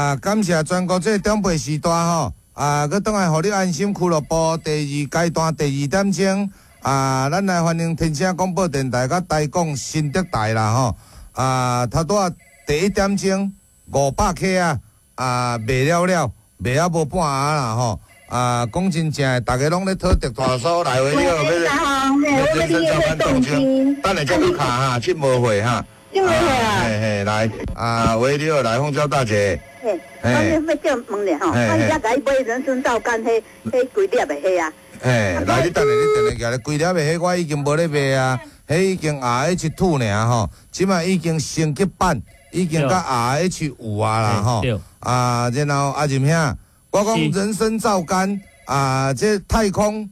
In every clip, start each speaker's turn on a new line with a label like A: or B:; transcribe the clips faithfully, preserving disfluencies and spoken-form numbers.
A: 啊，感謝全國這長輩時代吼，啊，閣轉來予你安心俱樂部第二階段第二點鐘，啊，咱來歡迎天聲廣播電臺佮台廣新竹台啦吼，啊，頭拄仔第一點鐘五百克啊，啊賣了了，賣啊無半盒啦吼，啊，講真正的，逐家攏咧討特大酥來回了，欲人參皂苷凍清，等下才閣敲哈，這無會哈。
B: 這無會啊！
A: 嘿嘿，來啊，喂，你好，來鳳嬌大姐。
B: 嘿，我欲叫問咧吼，我遐共伊買人參皂苷，彼彼規粒的彼啊。
A: 嘿，來，你等下，你等下，舉來規粒的彼，我已經無咧賣啊，彼已經 R H two 爾吼，這擺已經升級版，已經甲 R H 五啊啦吼。啊，然後阿仁兄，我講人參皂苷啊，這太空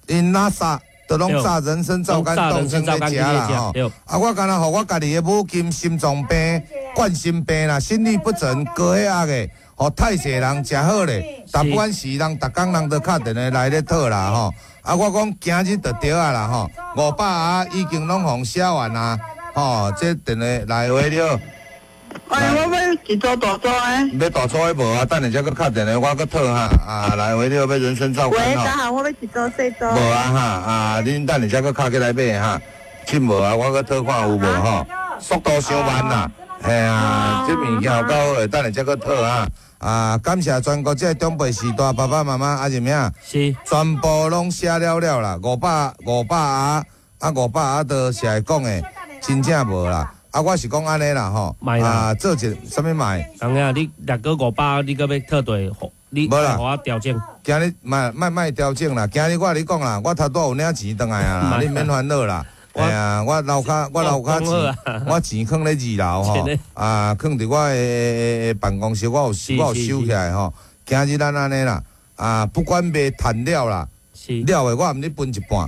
A: 𪜶 NASA 都攏炸人參皂苷凍清咧食啦吼。啊，我敢若予我家己的母親心臟病、冠心病啦、心律不整、高血壓的，予太濟人食好咧。但不管是人，逐工人都敲電話來咧討啦吼。啊，我講今日就對啊啦吼，五百盒已經攏予寫完啦，吼，這電話來話了。
C: 哎，我欲一組大組的。
A: 欲大組的無啊？等下才閣敲電話，我閣討哈。啊，來話了欲人參皂苷
C: 喂，大家好，我欲一組細組。
A: 無啊哈，啊，恁等下才閣敲過來買哈。這無啊，我閣討看有無吼。速度傷慢啦，嘿啊，這物件有夠好的，等下才閣討啊。啊，感謝全國這長輩時代爸爸媽媽啊，是啥？
D: 是。
A: 全部攏寫了了啦，五百五百盒，啊五百盒都是會講的，真正無啦。啊，我是講按呢啦吼，啊，做一啥物賣？
D: 當然你若閣五百，你閣欲討對，你
A: 無啦，
D: 我調整。
A: 今日莫莫莫調整啦，今日我共你講啦，我頭拄有領錢轉來啊，你免煩惱啦。哎呀，我樓跤我樓跤錢，我錢囥咧二樓吼，啊，囥佇我的辦公室，我有我有收起來吼。今日咱按呢啦，啊，不管賣趁了啦，了的我毋你分一半，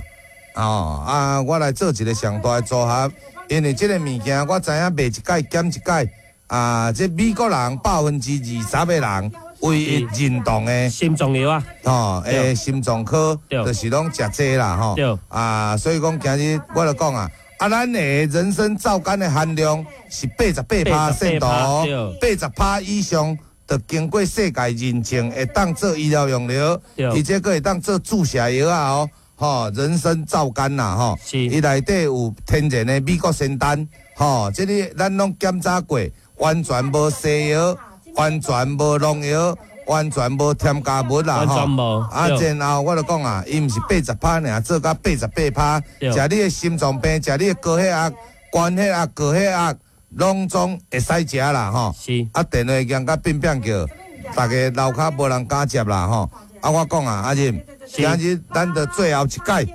A: 哦，啊，我來做一個上大的組合。因為這個物件，我知影賣一擺減一擺，啊，這美國人百分之二十的人唯一認同的
D: 心臟藥啊，
A: 吼，欸，心臟科就是攏食這啦，吼，啊，所以講今日我就講啊，啊，咱的人參皂苷的含量是八十八趴線度，八十趴以上，就經過世界認證，會當做醫療用藥，而且閣會當做注射藥啊哦。吼，人參皂苷啦，吼，伊內底有天然的美國仙丹，吼，這個咱攏檢查過，完全無西藥，完全無農藥，完全無添加物啦，吼。啊，然後我就講啊，伊毋是八十趴爾，做到八十八趴，食你的心臟病，食你的高血壓、高血壓、高血壓，攏總會使食啦，吼。
D: 是。
A: 啊，電話用甲變變叫，逐家樓跤無人敢接啦，吼。啊，我講啊，阿仁。今日咱著最後一擺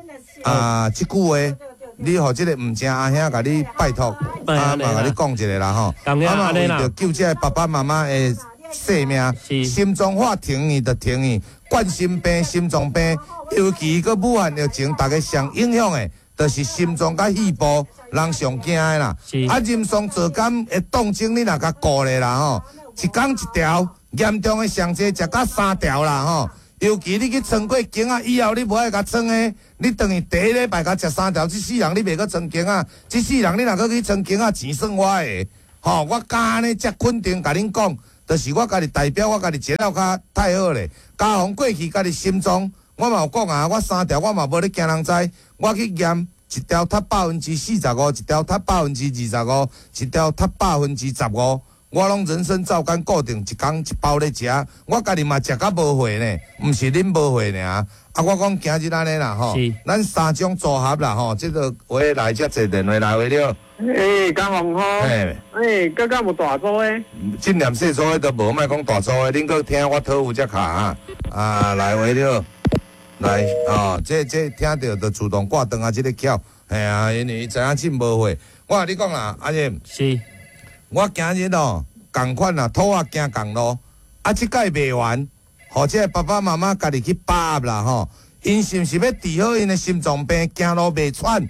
A: 啊，這句話，你予這個毋正阿兄共你拜託，啊嘛共你講一下啦吼。啊嘛為著救這個爸爸媽媽的性命，心臟話停去就停去，冠心病、心臟病，尤其閣武漢疫情，逐家上影響的，就是心臟佮肺部，人上驚的啦。啊，人參皂苷的凍清，你若共顧咧啦吼，一工一條，嚴重的上濟食到三條啦吼。尤其你去穿過弓仔以後，你無愛共穿的，你轉去第一禮拜共食三條，這世人你袂閣穿弓仔，這世人你若閣去穿弓仔，錢算我的，吼！我敢按呢遮肯定共恁講，就是我家己代表我家己食了較太好咧。加防過去家己心臟，我嘛有講啊，我三條我嘛無咧驚人知，我去驗一條達百分之四十五，一條達百分之二十五，一條達百分之十五。我攏人參皂苷固定一工一包咧食，我家己嘛食甲無貨呢，毋是恁無貨爾。啊，我講今日按呢啦吼，咱三種組合啦吼，這個話來遮濟電話來話了。
C: 欸，江宏好。欸，閣敢有大組的？
A: 這念細組的都無，莫講大組的，恁閣聽我討有才卡啊。啊，來話了，來哦，這這聽著就自動掛斷啊，這個巧，嘿啊，因為伊知影真無貨。我共你講啦，阿仁。
D: 是。
A: 我今日哦，仝款啦，兔仔行仝路，啊，這擺賣完，予這個爸爸媽媽家己去把握啦吼。𪜶是毋是欲治好𪜶的心臟病，行路袂喘，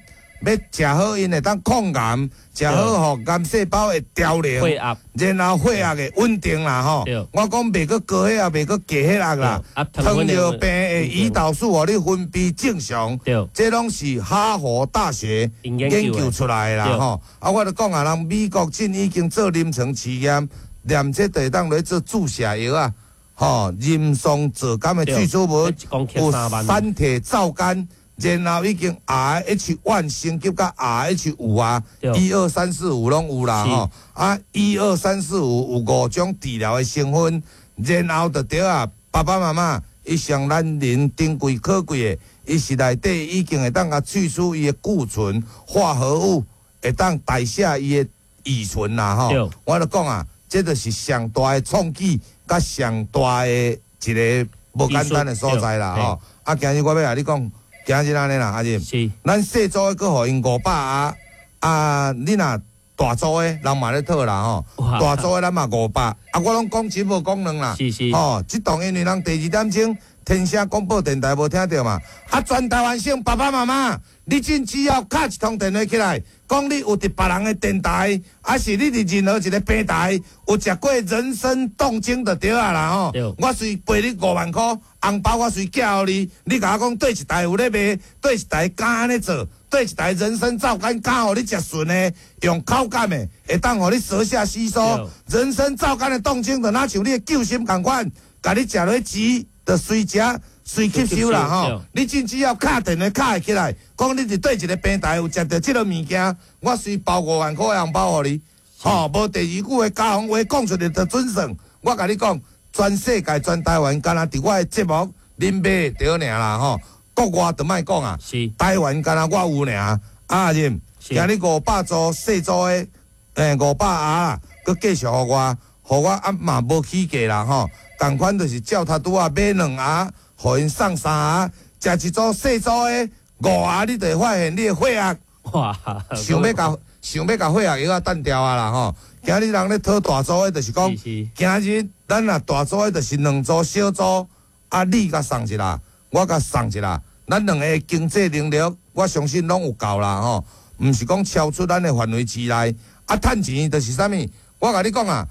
A: 欲食好𪜶會當抗癌，食好予癌細胞會凋零，然後血壓會穩定啦吼。我講袂閣高血壓，袂閣低血壓啦。糖尿病的胰島素予你分泌正常，這攏是哈佛大學研究出來的啦吼。啊，我就講啊，人美國這已經做臨床試驗，念這就會當來做注射藥啊，吼，人參皂苷的萃取物有三鐵皂苷，然後已經 R H 一 升級到 R H 五啊，一二三四五攏有啦吼，啊，一二三四五有五種治療的成分，然後就對啊，爸爸媽媽伊上咱人珍貴可貴的，伊是內底已經會當共萃取伊的固醇化合物，會當代謝伊的乙醇啦吼。我就講啊，這就是上大的創舉，佮上大的一個無簡單的所在啦吼。啊，今日我欲共你講，今日按呢啦，阿仁，咱細組的閣予𪜶五百盒，啊，你若大組的人嘛咧討啦吼，大組的咱嘛五百，啊，我攏講一無講兩啦，
D: 是是，
A: 吼，這檔因為人第二點鐘天聲廣播電台無聽著嘛，啊，全台灣省爸爸媽媽，你只只要敲一通電話起來，講你有佇別人的電台，還是你佇任何一個平台有食過人參凍精就對啊啦吼，我隨賠你五萬箍，紅包我隨寄予你，你共我講佗一台有咧賣，佗一台敢按呢做，佗一台人參皂苷敢予你食順的，用口感的，會當予你舌下吸收。人參皂苷的凍精就若像你的救心仝款，共你食落錢就隨食隨吸收啦吼。你只只要敲電話敲會起來，講你佇佗一個平台有食著這個物件，我隨包五萬箍的紅包予你。吼，無第二句話加紅話講出來就準算。我共你講，全世界全台灣，敢若佇我的節目恁買會著爾啦吼。國外就莫講啊，台灣敢若我有爾。啊，阿仁，今日五百組細組的，欸，五百盒，閣繼續予我，予我啊嘛無起價啦吼。仝款就是照頭拄仔買兩盒，予𪜶送三盒，食一組細組的五盒，你就會發現你的血壓，
D: 哇，
A: 想欲共想欲共血壓藥仔彈掉啊啦吼。今日人咧討大組的，就是講，今日咱若大組的，就是兩組小組，啊，你共送一啦，我共送一啦，咱兩个經濟能力，我相信攏有夠啦吼，毋是講超出咱的範圍之內。啊，趁錢就是啥物？我共你講啊，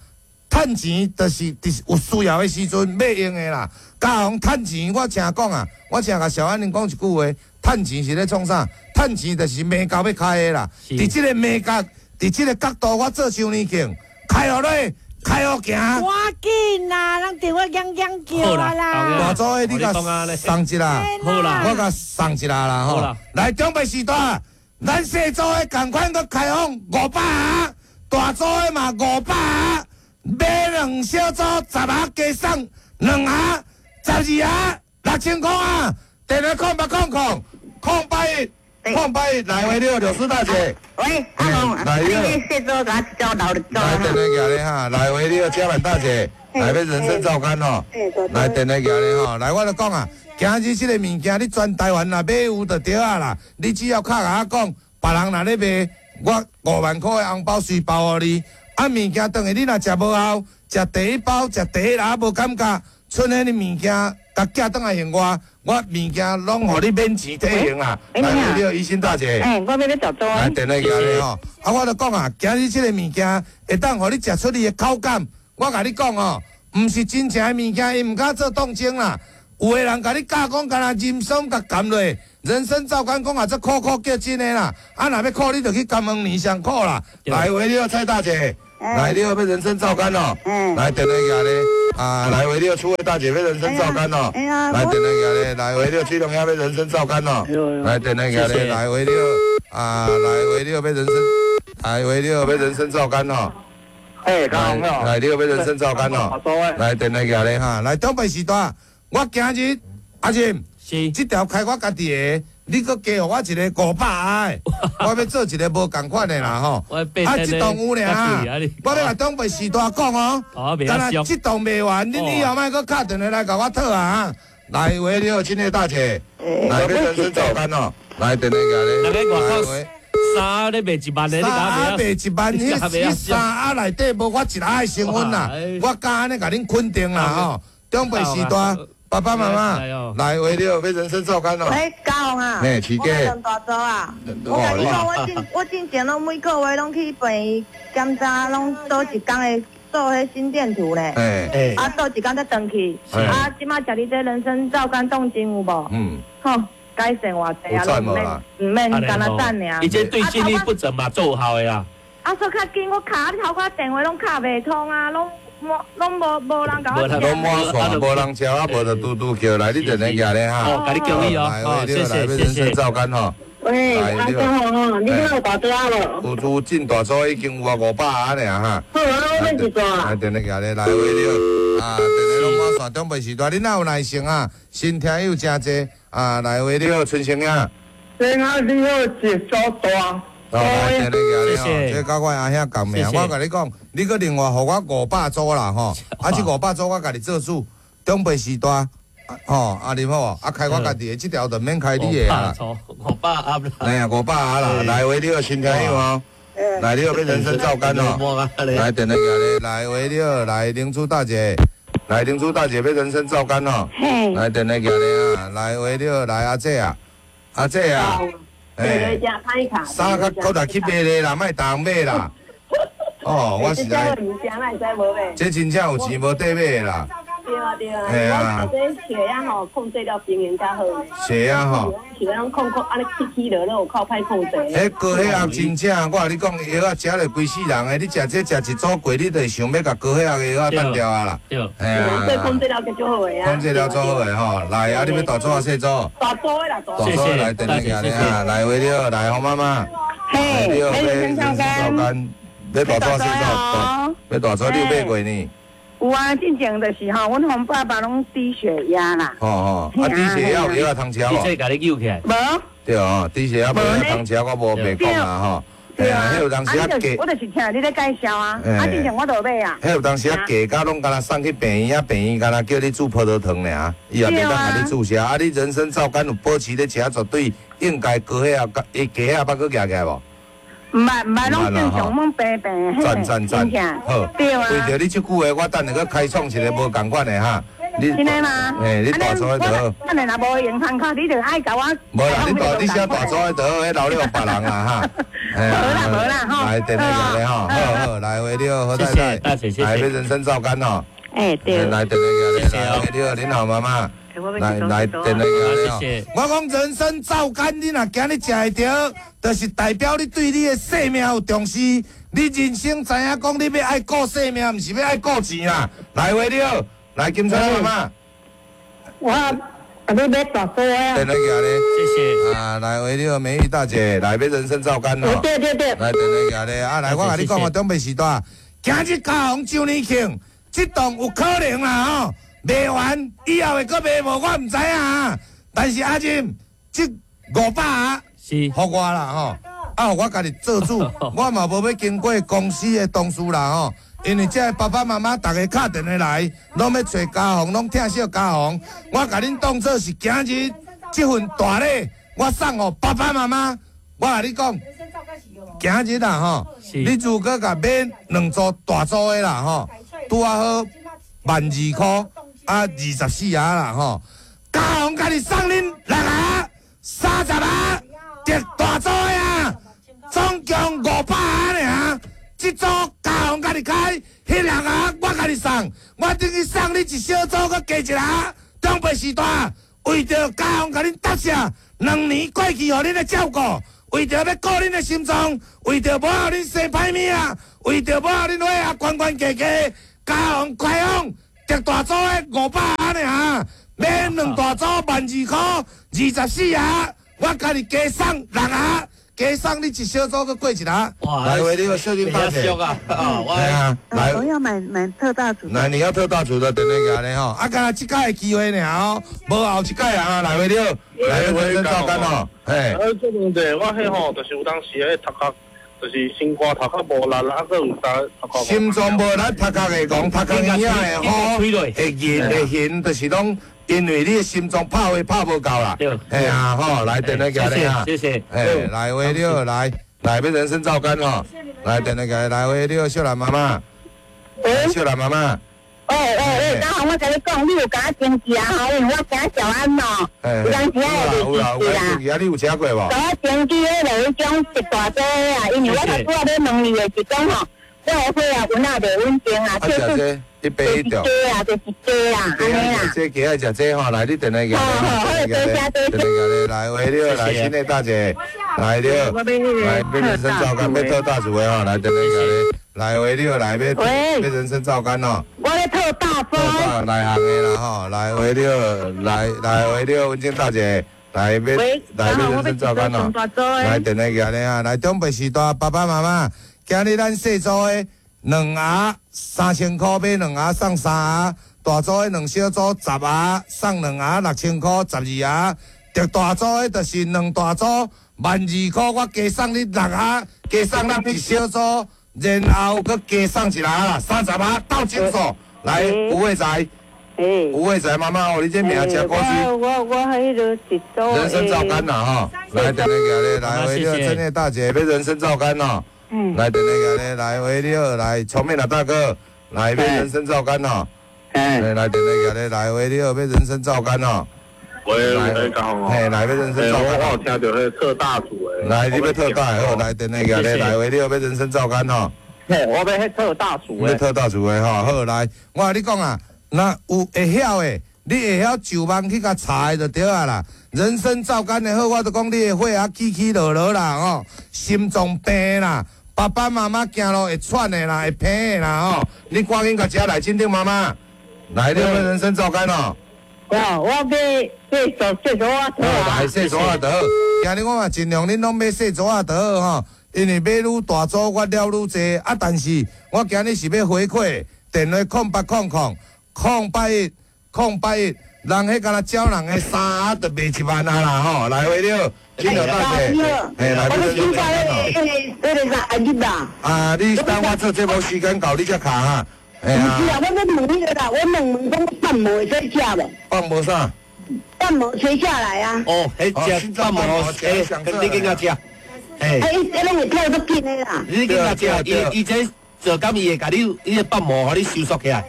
A: 趁錢就是佇有需要的時陣欲用的啦。加上趁錢，我成講啊，我成共小安恁講一句話，趁錢是咧創啥？趁錢就是眉角欲開的啦。佇這個眉角，佇這個角度，我做傷年輕，開予落，開予行。
E: 趕緊啦，人電話響響叫啊啦。
A: 大組的你共送一啦，
D: 好啦，
A: 我共送一啦啦吼。來，長輩時代，咱細組的仝款閣開放五百盒，大組的嘛五百盒，買兩小組十盒加送兩盒，十二盒六千箍啊！電話空八空空空八一空八一，來，喂，你好，柳絲大姐。
B: 喂，阿龍，
A: 來，
B: 你細組共一組留
A: 來電話寄咧哈，來喂，你好，嘉蘭大姐，來欲人參皂苷哦，來電話寄咧吼，來我就講啊，今日這個物件你全台灣若買有就對啊啦，你只要敲共我講，別人若咧賣，我五萬箍的紅包隨包予你。啊，物件當去你若食無效，食第一包食第一盒無感覺，剩彼个物件，共寄轉來還我，我物件攏予你免錢退還啦。來，你好，醫生大姐。
B: 欸，我欲欲做做。
A: 來，電話寄咧吼。啊，我就講啊，今日這個物件會當予你食出你的口感。我共你講哦，毋是真正的物件，伊毋敢做凍精啦。有的人共你教講，敢若人參共含落，人參皂苷講啊，這苦苦叫真的啦。啊，若欲苦，你就去甘黃年上苦啦。來，喂，你好，蔡大姐。來，你好，欲人參皂苷哦。來，電話寄咧。啊，來，喂，你好，楚慧大姐，欲人參皂苷哦。來，電話寄咧。來，喂，你好，崔龍兄，欲人參皂苷哦。來，電話寄咧。來，喂，你好。啊，來，喂，你好，欲人參。來，喂，你好，欲人參皂苷哦。
C: 欸，來，
A: 來，你好，欲人參皂苷哦。來，電話寄咧哈。來，長輩時代，我今日阿仁，
D: 是，
A: 這條開我家己的。你閣加予我一個五百个，我欲做一個無仝款的啦吼。啊，這檔有爾，我欲共長輩時代講哦。敢若這檔賣完，恁以後莫閣敲電話來共我討啊。來，喂，你好，親愛大姐，來欲人參皂苷哦。來，電話寄咧。
D: 來，外口三盒咧賣一萬的，
A: 三盒賣一萬，彼彼三盒內底無我一盒的成分啦。我敢按呢共恁肯定啦吼。長輩時代。爸爸媽媽，來，喂，你好，欲人參皂苷哦。
B: 喂，嘉宏啊，
A: 嘿，起家。
B: 我兩大組啊，我共你講，我進我進前攏每個月攏去病院檢查，攏做一工的做彼心電圖咧。
A: 欸
B: 啊，做一工才轉去。啊，這馬食你這人參皂苷凍精有無？
A: 嗯。
B: 好，改善偌濟啊，攏毋免毋免干焦等爾。
D: 伊這對心律不整嘛，奏效的啦。
B: 啊，說較緊，我敲你頭殼電話攏敲袂通啊，攏無攏無無人共我食。
A: 攏滿線，無人接啊，無就拄拄叫來，你電話寄咧哈。
D: 哦，共你恭喜哦，
A: 來，你好，來，欲人參皂苷吼。
F: 喂，阿公吼，你敢有大組仔無？
A: 有厝進大組已經有啊五百盒爾哈。
F: 好啊，我免一組
A: 來，電話寄咧，來，喂，你好，啊，電話攏滿線，長輩時代，你哪有耐性啊？新聽友誠濟啊，來，喂，你好，春生啊。
C: 先啊，你好，一組大。
A: 哦，來，電話寄咧吼，這佮我阿兄共名，我共你講，你閣另外予我五百組啦吼，啊，這五百組我家己做主，長輩時代。吼，啊，林好無？啊，開我家己的，這條就免開你的啊。
D: 五百盒啦。
A: 來啊，五百盒啦，來，喂，你好，新聽友哦。來，你好，欲人參皂苷哦。來，電話寄咧，來，喂，你好，來，靈珠大姐，來，靈珠大姐欲人參皂苷哦。來，電話寄咧啊，來，喂，你好，來，阿姐啊，阿姐啊。
F: 欸，
A: 衫較閣來去買咧啦，莫逐項買啦。哦，我實在。這真正有錢無得買啦。
F: 對啊對啊，我這血壓吼控制了平衡較好。
A: 血壓吼，
F: 血壓控控，按呢起起落落有靠歹控制。
A: 彼高血壓真正，我共你講，藥仔食咧規世人的，你食這食一組過，你就會想欲共高血壓的藥仔斷掉啊啦。
D: 對。
A: 嘿啊。
F: 所以控制了就足好的啊。
A: 控制了足好的吼，來啊！你欲大組抑細組？
F: 大組的啦，
A: 大組來，電話寄咧啊！來，喂，你好，來，洪媽媽。
B: 嘿，
A: 你好，欲人參皂苷，欲大組抑細組？欲大組，你有買過呢？
B: 有啊，進前就是吼，阮洪爸爸攏低血壓啦。
A: 哦哦，啊低血壓有藥仔通吃無？
D: 這共你救起來。
B: 無。
A: 對哦，低血壓無藥通吃，我無白講啊吼。對啊，彼有當時啊價，
B: 我就是聽你咧介紹啊，啊進前我就買啊。
A: 彼有當時啊價價攏敢若送去病院啊，病院敢若叫你注葡萄糖爾，伊也袂當共你注射。啊，你人參皂苷有保持咧吃，絕對應該高血壓、高血壓捌閣舉起來無？
B: 毋捌毋捌，攏正常，攏平平。
A: 讚讚讚，好。
B: 對啊。
A: 為著你這句話，我等下閣開創一個無仝款的哈。
B: 真的嗎？
A: 欸，你大組的就好。
B: 咱若無閒參考，你就愛共我。
A: 無啦，你大你寫大組的就好，彼留咧予別人啦哈。
B: 無啦無啦吼。
A: 來，電話來吼，好好來，喂，你好，何太太。
D: 大姐，謝謝。
A: 來，欲人參皂苷吼。
F: 欸對。
A: 來，電話來，喂，你好，恁好媽媽。來來，電話來我講人參皂苷，你若今日食會著，就是代表你對你的生命有重視。你人生知影講，你欲愛顧生命，毋是欲愛顧錢啦。來，喂，你好，來金釧媽媽。
F: 我啊，欲買大組啊。
A: 電話來，
D: 謝謝。
A: 啊，來，喂，你好，美玉大姐，來欲人參皂苷哦。
F: 對對對。
A: 來，電話來啊，來，我共你講，我長輩時代，今日嘉宏周年慶，這檔有可能啦吼。賣完以後會閣賣無，我毋知影。但是阿仁，這五百盒
D: 是
A: 予我啦吼，啊，予我家己做主，我嘛無欲經過公司的同事啦吼，因為這个爸爸媽媽逐家敲電話來，攏欲揣嘉宏，攏疼惜嘉宏。我共恁當做是今日這份大禮，我送予爸爸媽媽。我共你講，今日啦吼，你如果共買兩組大組的啦吼，拄仔好萬二箍。啊，二十四盒啦吼，嘉宏家己送恁六盒、三十盒，特大組的啊，總共五百盒爾。這組嘉宏家己開，彼六盒我家己送，我等於送你一小組，閣加一盒。長輩時代，為著嘉宏共恁答謝，兩年過去予恁的照顧，為著欲顧恁的心臟，為著無予恁生歹物仔，為著無予恁血壓懸懸低低，嘉宏開放。特大組的五百盒爾，買兩大組萬二箍，二十四盒，我家己加送六盒，加送你一小組閣過一盒。
D: 哇！
A: 來，喂，你好，小林大姐。
D: 啊！
A: 啊，來，
B: 我要買買特大組。
A: 來，你要特大組的，等下來吼。啊，干焦這擺的機會爾哦，無後一擺啊。來，喂，你好，來，喂，人參皂苷哦。嘿。
C: 啊，這問題我彼吼，就是有當時彼頭殼。就是心肝頭殼無力，啊，閣有啥頭殼？
A: 心臟無力，頭殼會戇，頭殼有影會好，會熱會眩，就是講因為你的心臟拍血拍無夠啦。
D: 對。
A: 嘿啊，吼，來電話寄來啊。
D: 謝謝。
A: 嘿，來喂，你好，來，來欲人參皂苷吼，來電話寄來喂，你好，秀蘭媽媽。秀蘭媽媽。
B: 喂喂喂，剛好我共你講，你有共我登記啊？吼，因為我驚小安喏，有當時啊
A: 有啦有啦，有啊，你有食過無？
B: 共我登記彼就彼種一大組的啊，因為我頭拄仔欲問你的是講吼，我的血壓穩啊袂穩定啊，
A: 啊，食這一杯一條。
B: 雞啊，就是雞啊，按呢啦。
A: 這雞愛食這吼，來你電話寄來。
B: 好好好，多謝多謝。
A: 電話寄來，喂，你好，來新的大姐，來你好，來欲人參皂苷欲特大組的吼，來電話寄來。來喂，你好，來欲
B: 喂
A: 欲人參皂苷哦。
B: 我咧特大
A: 特大內行的啦吼，來喂，你好，來來喂，你好，文靜大姐，來欲
B: 喂，
A: 來欲人參皂苷哦。來電話寄咧啊！來長輩時代爸爸媽媽，今日咱細組的兩盒三千箍買兩盒送三盒，大組的兩小組十盒送兩盒六千箍十二盒，特大組的就是兩大組萬二箍，我加送你六盒，加送咱一小組，然後閣加送一盒啦，三十盒鬥整數。來，吳慧才，吳慧才媽媽哦，你這名真古錐。
B: 我我我彼个一組
A: 人參皂苷啦吼，來電話寄咧，來喂，你好，正業大姐，欲人參皂苷哦。來電話寄咧，來喂，你好，來聰明的大哥，來欲人參皂苷哦。來來電話寄咧，來喂，你好，欲人參皂苷哦。
C: 喂，我講哦，
A: 嘿，來欲人參皂苷。
C: 我有聽著彼特大組的。
A: 來，你欲特大的好，來電話寄咧，來喂，你好，欲人參皂苷哦。
G: 嘿，我欲彼特大組
A: 的。欲特大組的吼，好來，我共你講啊，若有會曉的，你會曉上網去共查的就對啊啦。人參皂苷的好，我就講你的血壓起起落落啦，吼，心臟病啦，爸爸媽媽行路會喘的啦，會偏的啦，吼，你趕緊共食來，鎮定媽媽，來，你欲人參皂苷哦。
B: 我我買買細細組仔就好。
A: 來細組仔就好。今日我嘛盡量恁攏買細組仔就好吼，因為買愈大組我了愈濟啊，但是我今日是欲回饋電話空八空空空八一空八一，人彼敢若招人的三盒就賣一萬啊啦吼，來喂了，金牛大姐，嘿，來，
B: 我欲請教彼个彼個彼個啥阿日啦。
A: 啊，你等我做節目時間到，你才卡哈。
B: 毋是啊，我欲問彼个啦，我問問講瓣膜會使食無？
A: 瓣膜啥？
B: 瓣膜垂下來啊。
G: 哦，彼食瓣膜，欸，你緊共食。
B: 欸，啊，伊這攏會跳足緊的啦。
G: 你緊共食，伊伊這做敢伊會共你，伊个瓣膜予你收縮起來。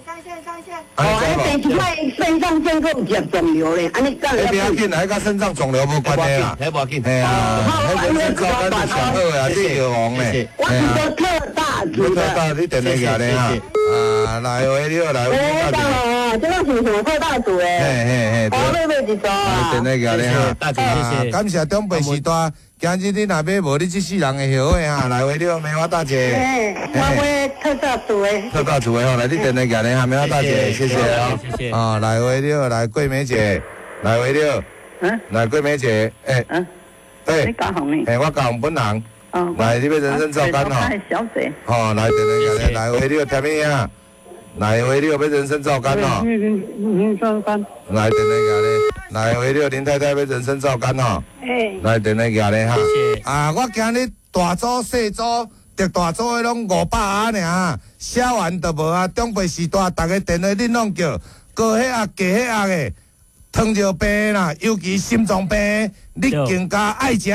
B: 哦，啊，第一擺腎上腺閣有食腫瘤咧，按呢敢會
A: 彼無要緊啦，彼佮腎臟腫瘤無關係啦。
G: 彼無要緊。
A: 嘿啊，彼人參皂苷是上好的啊，這藥王咧。
B: 我是做特大組
A: 特大，你電話寄咧哈。啊，來喂，你好，來喂，
B: 大姐。哦，這個是什麼特大組的？
A: 嘿嘿嘿，
B: 我欲買一組啊。
A: 電話寄咧哈。
D: 大姐，謝謝。
A: 感謝長輩時代，今日你若買無，你這世人會後悔哈。來喂，你好，梅花大姐。
B: 我買特大組的。
A: 特大組的吼，來你電話寄咧哈，梅花大姐，謝謝啊。
D: 謝謝。
A: 啊，來喂，你好，來桂梅姐，來喂，你好。
F: 嗯。
A: 來桂梅姐，欸。
F: 嗯。
A: 對。
F: 你高雄呢？
A: 欸，我高雄本人。
F: 哦。
A: 來，你欲人參皂苷吼。
F: 小姐。
A: 吼，來電話寄咧，來喂，你好，聽物啊。來喂，你好，欲人參皂苷吼。
F: 人參皂苷。
A: 來電話寄咧，來喂，你好，林太太欲人參皂苷吼。
F: 欸。
A: 來電話寄咧哈。
D: 謝謝。
A: 啊，我今日大組細組，特大組的攏五百盒爾，寫完就無啊。長輩時代，逐个電話恁攏叫高血壓、低血壓的、糖尿病啦，尤其心臟病，你更加愛食。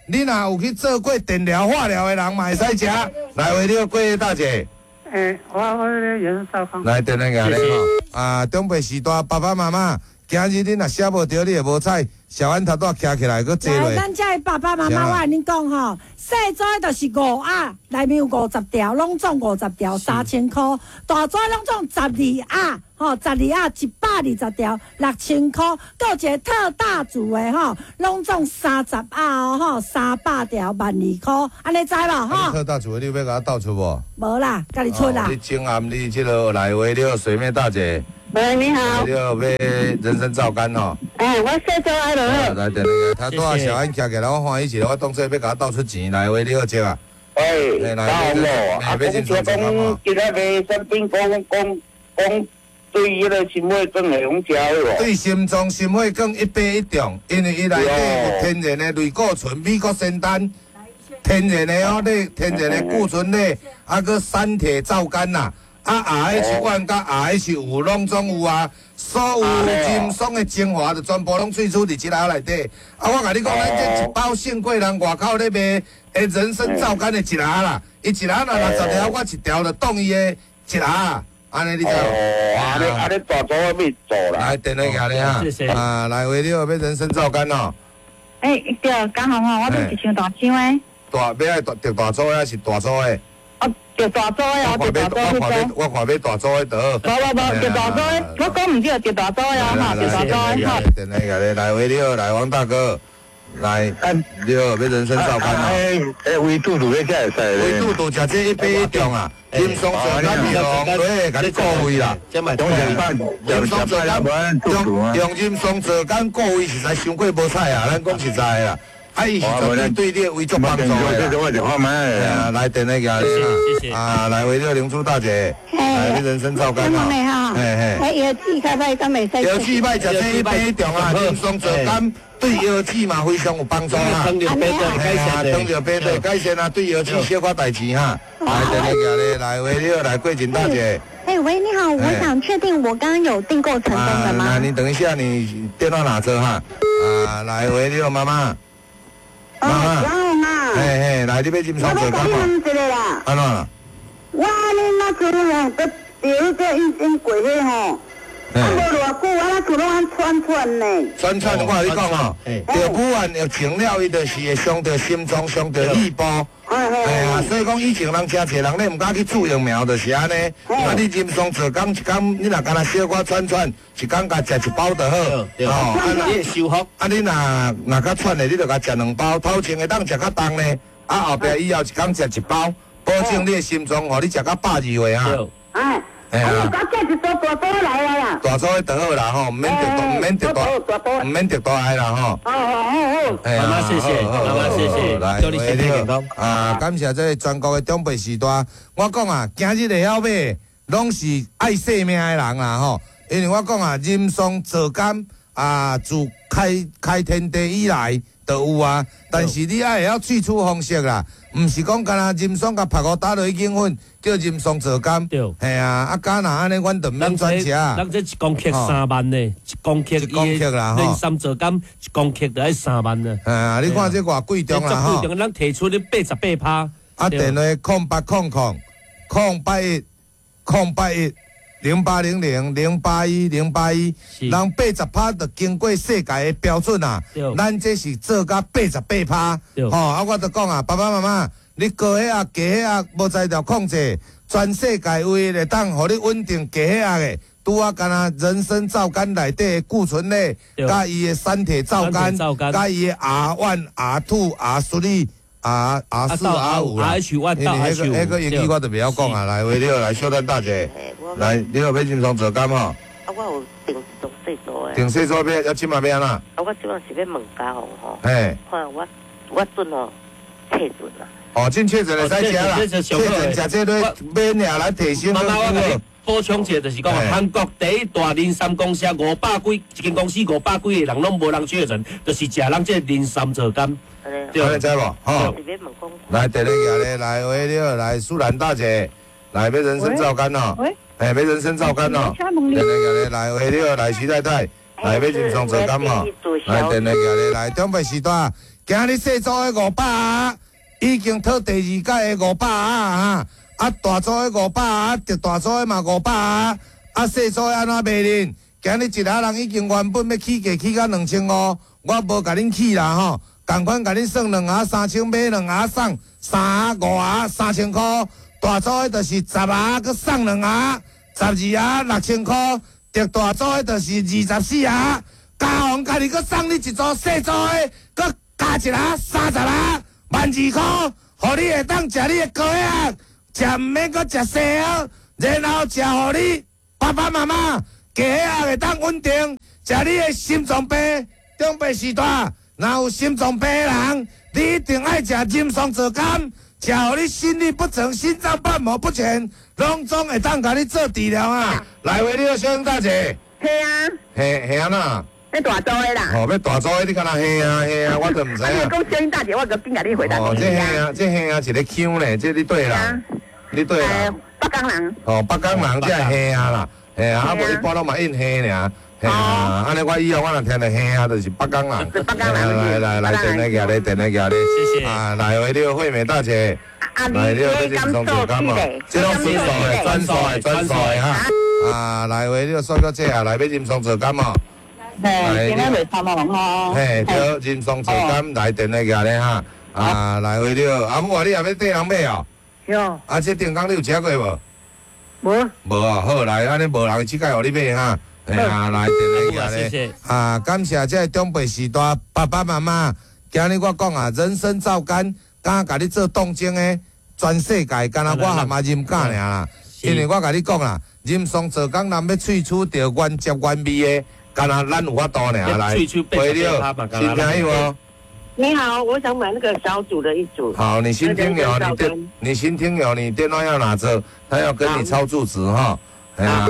A: 你若有去做過電療、化療的人嘛會使食。來喂，你好，桂大姐。
F: 欸，我我人參皂苷。
A: 來電話寄咧吼。啊，長輩時代，爸爸媽媽，今日你若寫無著，你會無彩。小安頭拄徛起來，閣坐落。
E: 來，咱遮的爸爸媽媽，我共恁講吼，細組的就是五盒，內面有五十條，攏總五十條，三千箍。大組攏總十二盒，吼，十二盒一百二十條，六千箍。閣有一個特大組的吼，攏總三十盒哦，吼，三百條，萬二箍，按呢知無吼？
A: 特大組的你欲共我鬥出無？
E: 無啦，家己出啦。
A: 你整暗你這个來話，你好，水妹大姐。
B: 喂，你好。
A: 你好，欲人參皂苷吼。
B: 哎，我細組愛就好。
A: 來，電話，他拄仔小安徛起來，我歡喜一下，我當作欲共我鬥出錢來。喂，你好，姐啊。
G: 喂，大好無？啊，講說講今仔賣產品，講講講對彼个心血管會用食好無？
A: 對心臟、心血管一百一中，因為伊內底有天然的類固醇、美國仙丹，天然的哦，你天然的固醇類，啊，閣三鐵皂苷啦。啊，R H one 佮 R H 五攏總有啊，所有金爽的精華就全部攏萃取佇這盒內底。啊，我共你講，咱這一包勝過人外口咧賣的人參皂苷的一盒啦。伊一盒若六十條，我一條就當伊的一盒，按呢你知無？
G: 哦，按呢按呢大組欲做啦。
A: 來，電話寄來哈。
D: 謝謝。
A: 啊，來喂，你好，欲人參皂苷哦。
B: 欸，對，嘉宏哦，我買一箱大箱的。
A: 大欲愛大特大組的還是大組的？
B: 哦，著大組的哦，著大組彼
A: 我看欲大組的就好。
B: 無無無，著大組的，我講毋對，著大組的哦，吼，著大組的吼。
A: 電話寄來，來喂，你好，來王大哥，來，對，欲人參皂苷哦。
G: 欸，胃肚肚咧食會使
A: 胃肚肚食這一八一中啊，人參皂苷用落共你固胃啦。人參皂苷用用人參皂苷固胃實在傷過無彩啊！咱講實在的啦，啊，伊是絕對對你的胃足幫助的啦。啊，來電話寄來啊，來為了靈珠大姐，來你人參皂苷啊，嘿嘿。
H: 腰子較歹，敢袂使？
A: 腰子歹食這一八一中啊，人參皂苷。對腰子嘛非常有幫助啊！糖尿病改善，糖尿病對改善啊，對腰子小可代誌哈。來，電話寄來，來喂，你好，來桂錦大姐。
B: 哎，喂，你好，我想確定我剛剛有訂購成功的嗎？
A: 那你等一下，你電話拿著哈。啊，來喂，你好，媽媽。媽媽。嘿嘿，來，你欲飲啥茶？
H: 我欲問一下啦。
A: 按怎啦？
H: 我按呢那像吼，閣著這醫生過彼吼。啊，無偌久，啊，那厝攏按喘喘呢。
A: 喘喘，我共你講吼，著武漢疫情了，伊就是會傷著心臟，傷著肺部。哎呀，所以講以前人誠濟人咧，毋敢去注疫苗，就是按呢。啊，你人參皂苷一工，你若干焦小可喘喘，一工共食一包就好。哦，啊，
D: 你會修復。
A: 啊，你若若較喘的，你就共食兩包，頭前會當食較重呢，啊，後壁以後一工食一包，保證你的心臟，予你食到百二歲啊。
H: 哎。
A: 哎
H: 啊！我食一組大組來啊啦！
A: 大組的就好啦吼，毋免得大，毋免得大，毋免得大愛啦吼。
H: 好好好好。
D: 媽媽謝謝，媽媽謝謝，
A: 來，
D: 祝你身體健康。
A: 啊，感謝這個全國的長輩時代。我講啊，今日會曉買，攏是愛性命的人啦吼。因為我講啊，人參皂苷啊，自開開天地以來就有啊。但是你愛會曉萃取方式啦，毋是講干焦人參共曝五打落去研粉，叫人參皂苷。
D: 對。
A: 嘿啊，啊，敢若按呢，阮就毋免轉食。
D: 人這一公克三萬呢，一公克
A: 一公克啦吼。
D: 人參皂苷一公克就愛三萬呢。
A: 啊，你看這偌貴重啦吼。
D: 貴重，咱提出咧八十八趴。
A: 啊，電話空八空空空八一空八一零八零零零八一零八一，人八十趴就經過世界的標準啊。咱這是做到八十八趴。吼，啊，我就講啊，爸爸媽媽，你高血壓、低血壓無才調控制，全世界唯一會當予你穩定低血壓的，拄仔干焦人參皂苷內底的固醇類，佮伊的三鐵皂苷，佮伊的 R one、R two、R three、R R 四、R 五啦。
D: R one 到 R 五。
A: 彼個英語我就袂曉講啊。來，喂，你好，來，小丹大姐，來，你好，欲人參皂苷吼。
I: 啊，我有訂一組細組的。
A: 訂細組欲，啊，這馬欲按怎？
I: 啊，我這馬是欲問家紅吼。
A: 嘿。
I: 看我我準吼確診啦。
A: 哦，真確診會使食啦，確診食這個免爾來提升。
D: 媽媽，我共你補充一下，就是講韓國第一大人參公司五百幾一間公司五百幾个人攏無人確診，就是食咱這人參皂苷。
A: 對，你知無？吼。來，第二個咧，來，喂，你好，來，蘇蘭大姐，來，欲人參皂苷哦。哎，欲人參皂苷哦。第二個咧，來，喂，你好，來，徐太太，來，欲人參皂苷哦。來，第二個咧，來，長輩時代，今日細組的五百盒，已經討第二屆的五百盒啊！啊，大組的五百盒，特大組的嘛五百盒，啊，細組的按怎賣恁？今日一盒人已經原本欲起價起到兩千五，我無共恁起啦吼。仝款共恁算兩盒三千，買兩盒送三盒五盒三千箍。大組的就是十盒，閣送兩盒，十二盒六千箍。特大組的就是二十四盒，加紅家己閣送你一組細組的，閣加一盒三十盒，萬二箍，予你會當食你的高血壓，食毋免閣食西藥，然後食予你爸爸媽媽低血壓會當穩定，食你的心臟病，長輩時代。若有心臟病的人，你一定愛食人參皂苷，食予你心律不整、心臟瓣膜不全，攏總會當共你做治療啊！來，喂，你好，小英大姐。
F: 係啊。
A: 係係按怎？
F: 欲大組的啦。
A: 哦，欲大組的，你敢若係啊係啊，我就毋知影。
F: 啊，你講小英大姐，我就緊共你回答。
A: 哦，這係啊，這係啊，一个腔咧，這你對啦，你對啦。
F: 北港人。
A: 哦，北港人這係啊啦，係啊，啊無一般攏嘛應係爾。嘿啊，按呢我以後我若聽著嘿啊，就是北港人。
F: 北港人。
A: 來來來，電話寄來，電話寄來。
D: 謝謝。
A: 啊，來，喂，你好，惠美大姐。來，你好，這是雙做工哦，這攏純素的，專素的，專素的哈。啊，來，喂，你好，蘇小姐啊，來欲人參皂苷哦。
F: 嘿，今仔袂參哦，吼。
A: 嘿，對，人參皂苷來電話寄來哈。啊，來，喂，你好，阿母啊，你也欲綴人買哦？
F: 有。
A: 啊，這頂工你有食過無？
F: 無。
A: 無啊，好，來，按呢無人這擺予你買哈。哎呀，來，電話寄來。啊，感謝這個長輩時代爸爸媽媽，今日我講啊，人參皂苷，敢共你做當前的，全世界敢若我含阿任敢爾啦。因為我共你講啦，人參皂苷人欲萃取著原汁原味的，敢若咱有法度爾來。
D: 萃取
A: 喂，你好，新聽友哦。
J: 你好，我想買那個小組的一組。
A: 好，你新聽友，你電，你新聽友，你電話要拿著，他要跟你抄住址哈。哎呀，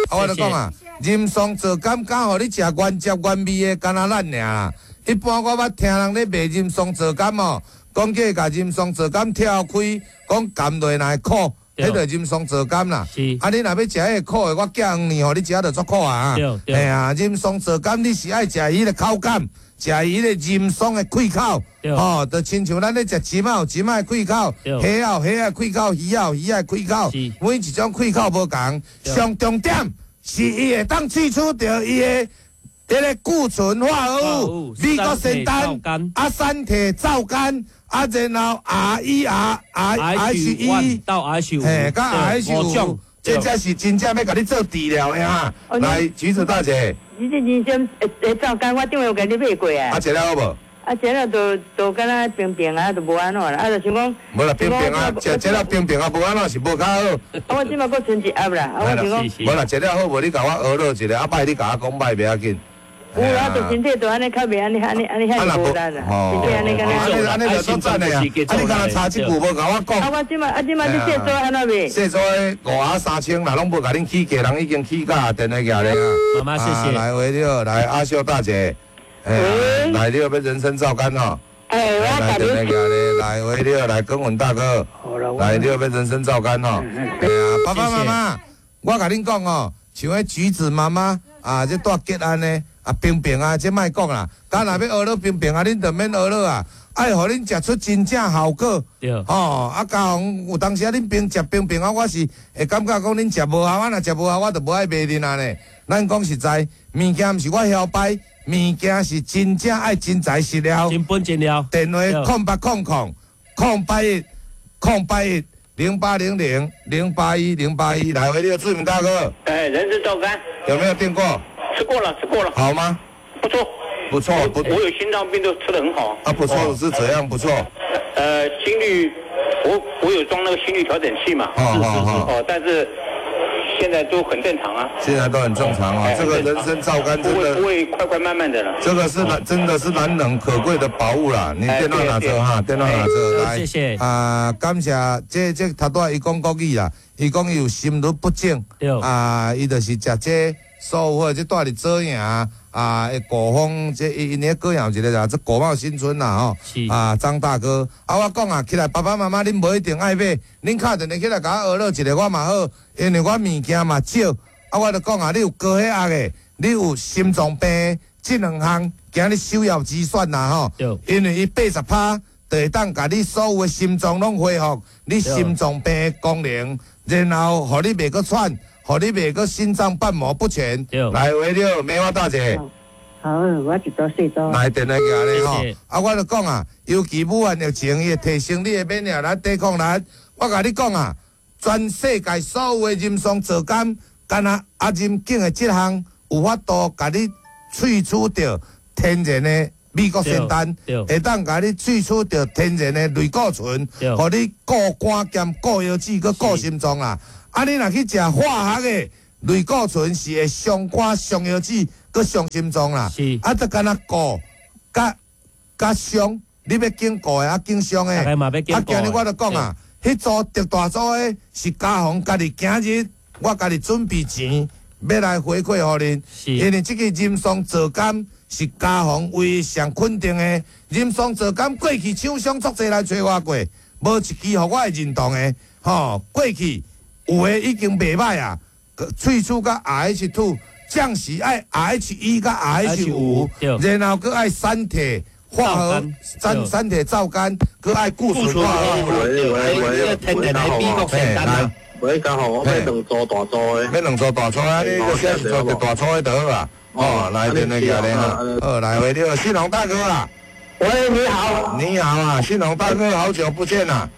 A: 啊，我就講啊，人參皂苷敢予你食原汁原味的，敢若咱爾啦。一般我捌聽人咧賣人參皂苷哦，講叫伊共人參皂苷跳開，講含落來苦，彼就人參皂苷啦。啊，你若欲食彼個苦的，我寄黃連予你食就足苦啊。嘿啊，人參皂苷你是愛食伊个口感，食伊个人參的開口，吼，就親像咱咧食蟳仔有蟳仔的開口，蝦仔有蝦仔的開口，魚仔有魚仔的開口，每一種開口無仝，上重點是伊會當萃取著伊的彼个固醇化合物、美國仙丹、啊三萜皂苷，啊然後 R E R R H E
D: 到 H 五，
A: 嘿，佮 R H 五，這才是真正欲共你做治療的哈。來，橘子大姐，
J: 你這人參會皂苷，我頂下有共你買過啊。
A: 啊，食了好無？
J: 啊，食了就就敢若平平啊，就無按怎啦。啊，就想講，
A: 無啦，平平啊，食食了平平啊，無按怎是無較好。
J: 啊，我這擺閣剩一盒啦。啊，我想講，
A: 無啦，食了好無？你共我學落一下，啊，歹你共我講歹袂要緊。
J: 有啊，就身體就按呢較袂按呢按呢按呢遐無力啦，身體按呢敢若。
A: 按呢按呢就足讚的啊！啊，你敢若差這句無共我講。
J: 啊，我這擺啊這擺你細組按怎賣？
A: 細組的五盒三千啦，攏無共恁起價，人已經起價，電話寄來啊。
D: 媽媽謝謝。
A: 來，喂，你好，來阿秀大姐。欸，來，你好，欲人參皂苷哦。
J: 欸，我
A: 來電話寄來，來，喂，你好，來耿文大哥。來，你好，欲人參皂苷哦。對啊，爸爸媽媽，我共恁講哦，像彼橘子媽媽啊，這蹛吉安的。啊，平平啊，這莫講啦。敢若欲學落平平啊，恁就免學落啊。愛予恁食出真正效果。
D: 對。
A: 吼，啊，加上有當時啊，恁平食平平啊，我是會感覺講恁食無效，我若食無效，我就無愛賣恁啊呢。咱講實在，物件毋是我囂擺，物件是真正愛真材實料。
D: 真本真料。
A: 電話空八空空空八一空八一零八零零零八一零八一，來，喂，你好，志明大哥。
K: 哎，人參皂苷。
A: 有沒有訂過？
K: 吃過了，吃過了。
A: 好嗎？
K: 不錯，
A: 不錯，不。
K: 我有心臟病都吃得很好。
A: 啊，不錯是怎樣不錯？
K: 呃，心率，我我有裝那個心率調整器嘛。
A: 哦哦
K: 哦。但是現在都很正常啊。
A: 現在都很正常啊，這個人參皂苷真的。
K: 不會快快慢慢的了。
A: 這個是難，真的是難能可貴的寶物啦！你電話拿著哈，電話拿著來。
D: 謝謝。
A: 啊，感謝這這頭拄仔伊講國語啦，伊講伊有心律不整，啊，伊就是食這。所有伙這蹛佇左營啊，國風這𪜶𪜶咧高陽一个啦，這國貿新村啦吼，啊張大哥，啊我講啊，起來爸爸媽媽，恁無一定愛買，恁敲電話起來共我學落一个我嘛好，因為我物件嘛少，啊我就講啊，你有高血壓的，你有心臟病，這兩項今日首要之選啦吼，因為伊八十趴就會當共你所有的心臟攏恢復，你心臟病的功能，然後予你袂閣喘。予你袂閣心臟瓣膜不全。來，喂，你好，梅花大姐。
J: 好，我一組細組。
A: 來，電話寄來吼。啊，我就講啊，尤其武漢疫情，伊會提升你的免疫力、抵抗力。我共你講啊，全世界所有的人參皂苷，敢若阿任景的這項有法度共你萃取著天然的美國仙丹，會當共你萃取著天然的類固醇，予你顧肝兼顧腰子，閣顧心臟啦。啊！你若去食化學的類固醇，是會傷肝、傷腰子，閣傷心臟啦。
D: 是。
A: 啊，就敢若顧，佮佮傷，你欲揀顧的，啊揀傷的。啊，今日我就講啊，彼組特大組的是嘉宏家己今日，我家己準備錢，欲來回饋予恁。
D: 是。
A: 因為這个人參皂苷是嘉宏唯一上肯定的，人參皂苷過去廠商足濟來揣我過，無一支予我會認同的，吼，過去。有的已經袂䆀啊，萃取佮 R H two，暫時愛 R H 一佮 R H 五，然後閣愛三鐵化合三三鐵皂苷，閣愛固醇化合物。
C: 喂喂喂，喂，家豪，我欲兩組大組的，
A: 欲兩組大組啊！你閣寫一組就大組的就好啊。哦，來電話寄來哈。好，來喂，你好，信宏大哥啊。
G: 喂，你好。
A: 你好啊，信宏大哥，好久不見啦。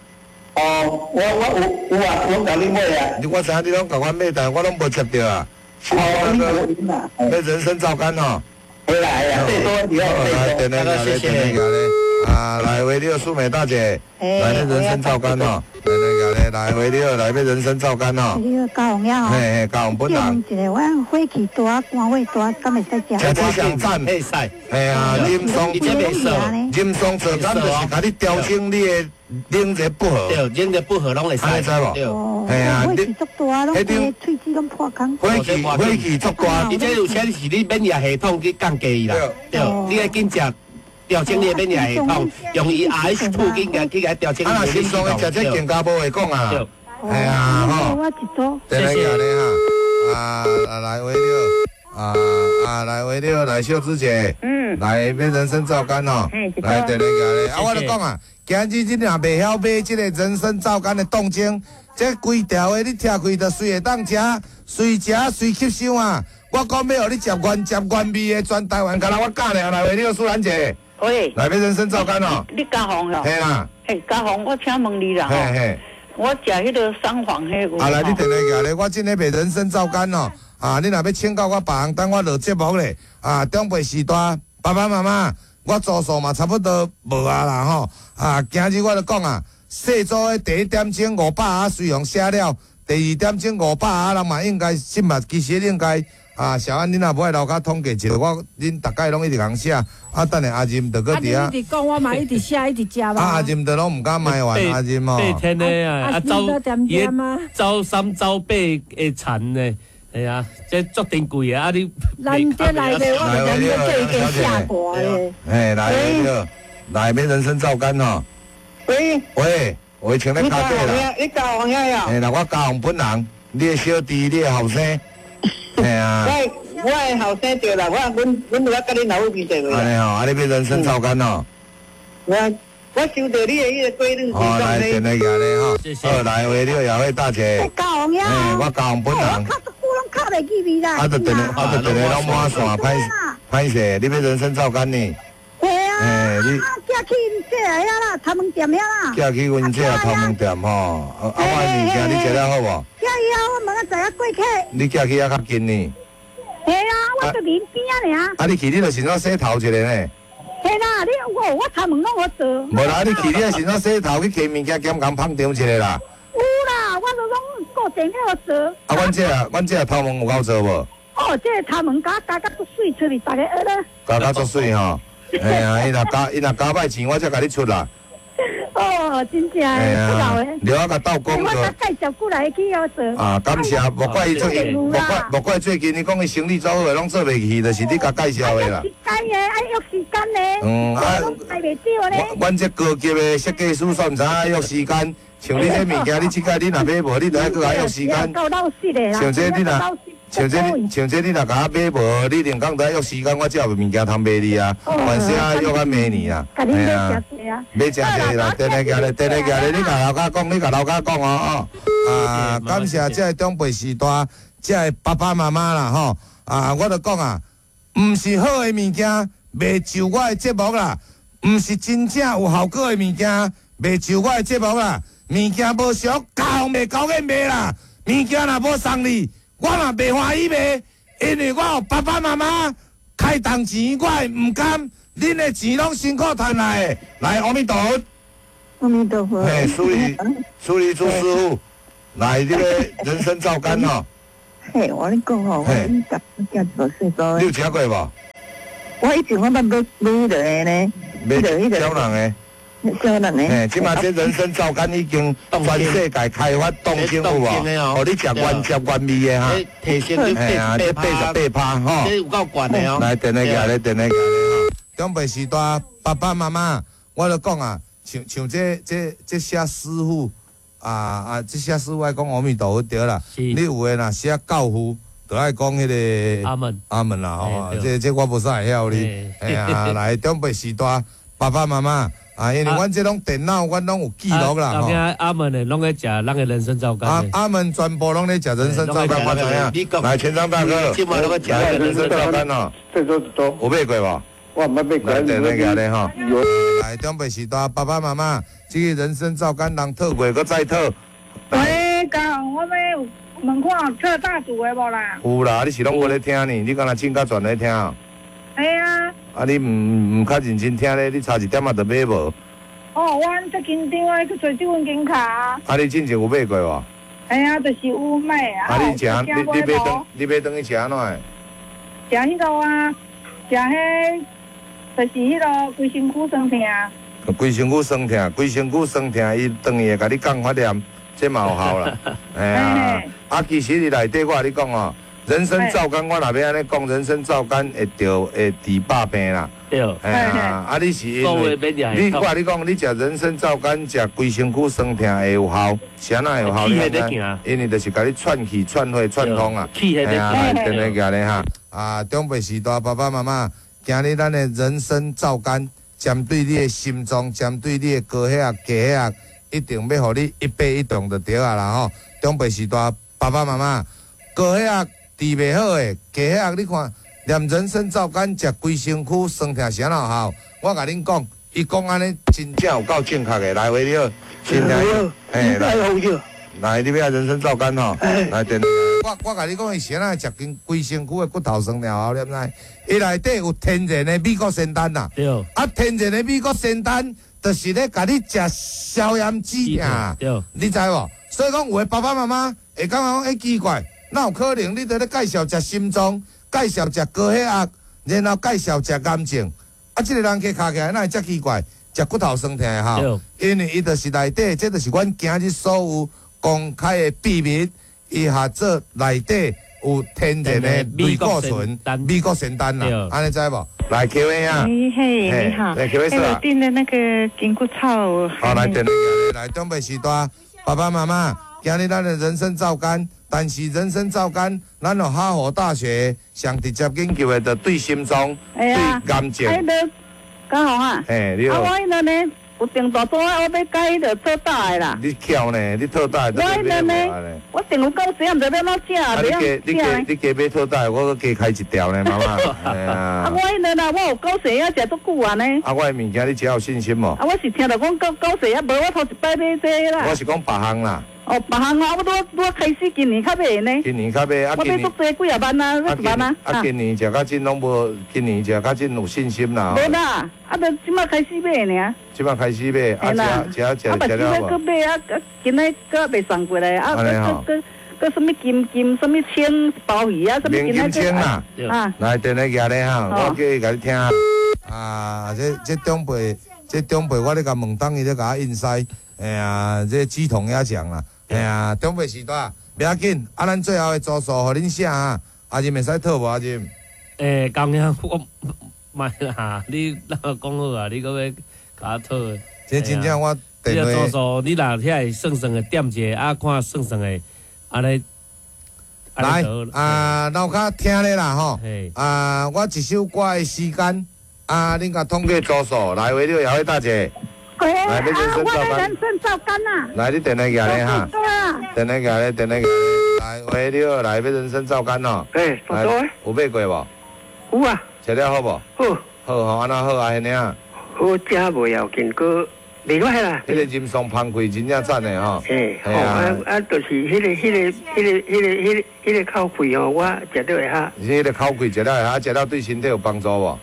G: 哦，我我有有啊，我共你買啊。
A: 你我知影你攏共我買，但我攏無接著啊。
G: 哦，
A: 欲人參皂苷吼。
G: 回來啊，最多以後
A: 來，電話來，電話來。啊，來喂，你好，素美大姐，來你人參皂苷哦，來來來來喂，你好，來欲人參皂苷哦。
H: 你好，高雄呀吼。
A: 嘿嘿，高雄本人。
H: 一個，我火氣大，肝火大，敢會使食？
A: 食這上讚，
D: 會使。
A: 嘿啊，啉爽，啉爽皂苷就是共你調整你的冷熱不和。
D: 對，冷熱不和攏會使。
A: 知無？
D: 對。
A: 嘿啊，
H: 火氣足大，攏規個喙齒攏破空。
A: 火氣火氣足大，
D: 而且有時是你免疫系統去降低啦。對，你愛緊食。調整你的免疫系統，用伊 R H two 緊個去共調整。
A: 啊，若心臟的食這更加無話講啊。係啊，吼。謝謝你哈。啊，來喂你啊啊，來喂你來秀芝姐。嗯。來欲人參皂苷吼。來，對對對。啊，我就講啊，今日你若袂曉買這個人參皂苷的凍精，這規條的你拆開就隨會當食，隨食隨吸收啊。我講欲予你食原汁原味的，全台灣，敢若我教爾來喂你淑蘭姐。
L: 喂，
A: 來欲人參皂苷哦。
L: 你家紅哦？
A: 嘿啦。
L: 嘿，家紅，我請問你啦。
A: 嘿嘿。
L: 我食彼個桑黃彼個。
A: 啊，來，你電話寄來，我真咧賣人參皂苷哦。啊，你若欲請教我別項，等我落節目咧。啊，長輩時代，爸爸媽媽，我歲數嘛差不多無啊啦吼。啊，今日我就講啊，細組的第一點鐘五百盒雖然寫了，第二點鐘五百盒人嘛應該，這嘛其實應該。啊，小安，你若無愛樓跤統計一下，我恁逐擺攏一直共寫，啊，等下阿任就閣伫遐。
E: 你一直講，我嘛一直寫，一直食嘛。
A: 啊，阿任就攏毋敢賣完，阿任哦。
D: 八天的啊，啊，走伊走三走八的田呢，系啊，這足珍貴的啊！你。
E: 難得來的，我就叫伊加寫過的。
A: 嘿，來來來，欲人參皂苷吼。
G: 喂。
A: 喂，喂，請你卡底啦。
G: 你教王兄呀？
A: 嘿，啦，我教王本人，你的小弟，你的後生。系啊，
G: 我我的後生對啦，我阮阮有佮你老母比者袂？
A: 按呢吼，啊你欲人參皂苷哦。
G: 我我收到你的彼個规律。
A: 哦，來，電話寄咧吼。好，來，喂，你好，姚慧大姐。
H: 教王呀。
A: 嘿，我教王本人。
H: 我敲足久攏敲袂记味啦。
A: 啊，就電話，啊，就電話攏滿線，歹歹勢，你欲人參皂苷呢？
H: 系啊。
A: 嘿，你。
H: 啊，寄去𪜶姐遐啦，頭毛店遐啦。
A: 寄去阮姐頭毛店吼，啊，我的物件你食了好無？
H: 寄以後我問啊知影過客。
A: 你寄去遐較近呢？
H: 系啊，我就伫邊仔爾。
A: 啊，你去你就先怎洗頭一下呢？
H: 系啦，你我我頭毛攏我做。
A: 無啦，你去你係先怎洗頭去加物件，兼共捧場一下啦。
H: 有啦，我都攏固定咧我做。
A: 啊，阮這啊，阮這頭毛有夠做無？
H: 哦，這個頭毛加加甲足媠出去，逐个學咧。
A: 加甲足媠吼，哎呀，伊若加伊若加歹錢，我才共你出啦。
H: 哦，真正的，不老的。
A: 了我共鬥講
H: 我介紹過來去曉做。
A: 啊，感謝，莫怪伊最近，莫怪莫怪最近，伊講伊生理做好的攏做袂去，就是你共介紹的啦。
H: 時間的，愛約時間的。
A: 嗯，啊，阮這高級的設計師算毋知影約時間，像你這物件，你這擺你若買無，你著愛閣共約時間。
H: 夠老實的啦。
A: 像這你若。像這你，像這你若共我買無，你兩工著愛約時間，我才有物件通賣你啊。凡是愛約到明年啊，
H: 系啊，
A: 買誠濟啦，電話寄來，電話寄來，你共樓跤講，你共樓跤講哦哦。啊，感謝這个長輩時代，這个爸爸媽媽啦吼。啊，我就講啊，毋是好的物件，袂上我的節目啦。毋是真正有效果的物件，袂上我的節目啦。物件無俗，教袂高興賣啦。物件若無送你。我嘛袂歡喜賣，因為我有爸爸媽媽開動錢，我會毋甘。恁的錢攏辛苦賺來的，來阿彌陀佛。
H: 阿彌陀佛。
A: 嘿，蘇里，蘇里朱師傅，來這個人參皂苷吼。
B: 嘿，我跟你講吼，我以前食做細做。
A: 你有食過無？
B: 我以前我捌買買落的呢，
A: 買小人的。
B: 小人的。
A: 嘿，這馬這人參皂苷已經全世界開發凍精有無？哦，你食原汁原味的哈。
D: 提升
A: 你八十八趴吼。
D: 這有夠懸的哦。
A: 來，電話寄來，電話寄來吼。長輩時代，爸爸媽媽，我就講啊，像像這這這寫師傅啊啊，這寫師傅愛講阿彌陀佛對啦。你有的若寫教父，就愛講彼個
D: 阿門
A: 阿門啦吼。這這我無啥會曉哩。哎呀，來長輩時代，爸爸媽媽。啊，因為阮這攏電腦，阮攏有記錄啦吼。
D: 阿門的攏咧食咱的人參皂苷。
A: 阿阿門全部攏咧食人參皂苷，我知影。來，錢張大哥，來人參皂苷哦。
C: 這都多。
A: 有買過無？
C: 我毋捌買過。
A: 來，電話寄來吼。來，長輩時代，爸爸媽媽，這個人參皂苷人討過，閣再討。
M: 喂，家雄，我欲問看有特大組的無啦？
A: 有啦，你是攏無咧聽呢？你敢若進較全咧聽？
M: 系啊。
A: 啊，你毋毋較認真聽咧，你差一點仔就買無。
M: 哦，我足緊張，我去揣這份金卡。
A: 啊，你進前有買過無？
M: 哎呀，就是有買啊。
A: 啊，你食你你買轉，你買轉去食按怎的？
M: 食彼個啊，食彼，就是彼個規身軀酸痛。
A: 規身軀酸痛，規身軀酸痛，伊轉去會共你降發炎，這嘛有效啦。哎呀，啊，其實伊內底我共你講哦，人參皂苷，我若欲按呢講，人參皂苷會著會治百病啦。
D: 對。
A: 哎呀，啊，你是因為你我共你講，你食人參皂苷，食規身軀酸痛會有效，是按怎會有效？
D: 氣血咧行，
A: 因為就是共你串氣、串血、串通啊。
D: 氣血咧行。
A: 來，電話寄來哈。啊，長輩時代爸爸媽媽，今日咱的人參皂苷，針對你的心臟，針對你的高血壓、低血壓，一定欲予你一八一動就對啊啦吼。長輩時代爸爸媽媽，高血壓治袂好的，低血壓你看，念人參皂苷食規身軀酸痛是按怎有效？我共恁講，伊講按呢真正有夠正確的。來，喂，你好，先聽，嘿，來，來，你欲愛人參皂苷吼？來，電我我共你講，伊是按怎食經規身軀的骨頭酸痛後，你知？伊內底有天然的美國仙丹啦。
D: 對。
A: 啊，天然的美國仙丹，就是咧共你食消炎止痛。
D: 對。
A: 你知無？所以講，有的爸爸媽媽會感覺講，欸，奇怪，哪有可能？你佇咧介紹食心臟，介紹食高血壓，然後介紹食癌症，啊，這個人家卡起來，哪會遮奇怪？食骨頭酸痛的吼，因為伊就是內底，這就是阮今日所有公開的秘密。伊下做內底有天然的類固醇、美國仙丹啦，按呢知無？來，Q A 啊，
N: 嘿，你好，
A: 來 Q A
N: 我訂的那個筋骨草。
A: 好，來訂來，長輩時代，爸爸媽媽，今日咱的人參皂苷，但是人參皂苷，咱予哈佛大學上直接研究的，就對心臟、對癌症。
L: 嘉宏啊，
A: 嘿，你好。
L: 啊，我彼個呢，有訂大組啊，我欲改彼个套大的啦。
A: 你巧呢？你套大的。
L: 我彼个呢，我訂有夠濟，毋知欲按怎食，
A: 你加你加你加買套大的，我閣加開一條呢，媽媽。
L: 啊，我彼个啦，我有夠濟啊，食足久啊呢。
A: 啊，我的物件你真有信心無？
L: 啊，我是聽著講夠夠濟啊，無我頭一擺買這個啦。
A: 我是講別項啦。
L: 哦，別項啊，我拄拄開始今年較買呢。
A: 今年較買啊，
L: 我買足濟幾啊萬啊，幾萬啊。
A: 啊，今年食較真攏無，今年食較真有信心啦。
L: 無啦，啊，著這擺開始買爾。
A: 這擺開始買，啊，食食食食了無？
L: 啊，閣買啊，啊，今仔閣袂送過來啊，閣閣閣啥物金金，啥物青鮑魚啊，啥物
A: 金青啊。
L: 啊，
A: 來，電話寄咧哈，我叫伊共你聽。啊，這這長輩，這長輩，我咧共問，等伊咧共我應西。哎呀，這雞同鴨講啦。哎呀，長輩時代，袂要緊，啊，咱最後的組數予恁寫啊，阿仁會使討無阿仁？
D: 欸，江兄，我莫啦，你咱講好啊，你閣欲共我討？
A: 這真正我
D: 電話。你組數，你若遐會算算的點一下，啊，看算算的，按呢。
A: 來啊，樓跤聽咧啦吼。啊，我一首歌的時間，啊，恁共統計組數，來，喂，你好，姚大姐。
H: 來，啊，我的人參皂苷啊！
A: 來，你電話寄來哈。電話寄來，電話寄來。來，喂，你好，來，欲人參皂苷吼。
O: 欸，來，
A: 有買過無？
O: 有啊。
A: 食了好無？
O: 好。
A: 好吼，按怎好啊？彼爾。
O: 好食袂要緊，閣袂歹啦。
A: 彼個人參芳氣真正讚的吼。
O: 欸，吼啊啊，就是彼個、彼個、彼個、彼個、彼個、彼個口氣吼，我食了會較。
A: 彼個口氣食了會較，食了對身體有幫助無？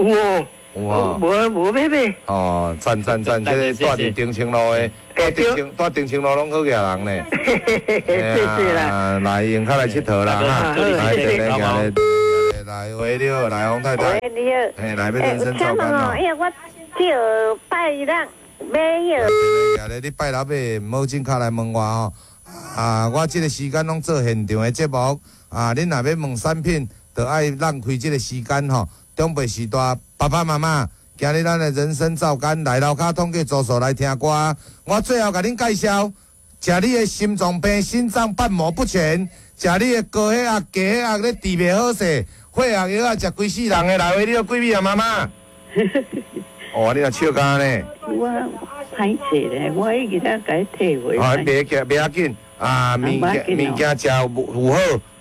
O: 有哦。
A: 有吼，
O: 無無買買。
A: 哦，讚讚讚，這個住佇長青路的，住長青住長青路攏好額人呢。
O: 謝謝啦。
A: 來，用較來𨑨迌啦哈。來，來來來，喂，你好，來，洪太太。
F: 喂，你好。
A: 嘿，來，欲人參皂苷哦。
F: 因為我叫拜六買彼
A: 個。你拜六買，毋好真卡來問我吼。啊，我這個時間攏做現場的節目。啊，恁若欲問產品，就愛讓開這個時間吼。長輩時代，爸爸媽媽，今日咱的人參皂苷來樓跤統計組數來聽歌。我最後共恁介紹，食你的心臟病、心臟瓣膜不全，食你的高血壓、低血壓咧治袂好勢，血壓藥啊食規世人的。來，喂，你好，貴美啊，媽媽。哦，你若笑干呢？
L: 我歹勢咧，我已經共伊退回。
A: 啊，袂緊，袂要緊啊，物件物件食有有好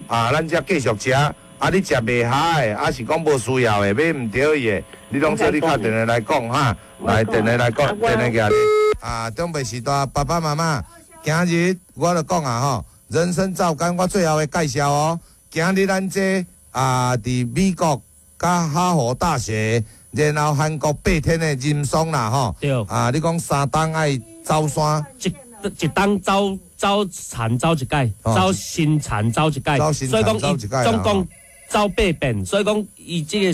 A: 啊，咱才繼續食。啊！你食袂合的，啊是講無需要的，買毋著伊的，你攏做你敲電話來講哈，來電話來講，電話寄來。啊，長輩時代，爸爸媽媽，今日我就講啊吼，人參皂苷我最後的介紹哦。今日咱這啊，佇美國佮哈佛大學，然後韓國八天的人參啦吼。
D: 對。
A: 啊，你講三冬愛走山，
D: 一一冬走走田走一擺，走新田走一擺，
A: 走新
D: 所以講伊
A: 田走一擺啦
D: 總共走八遍，所以講伊這個有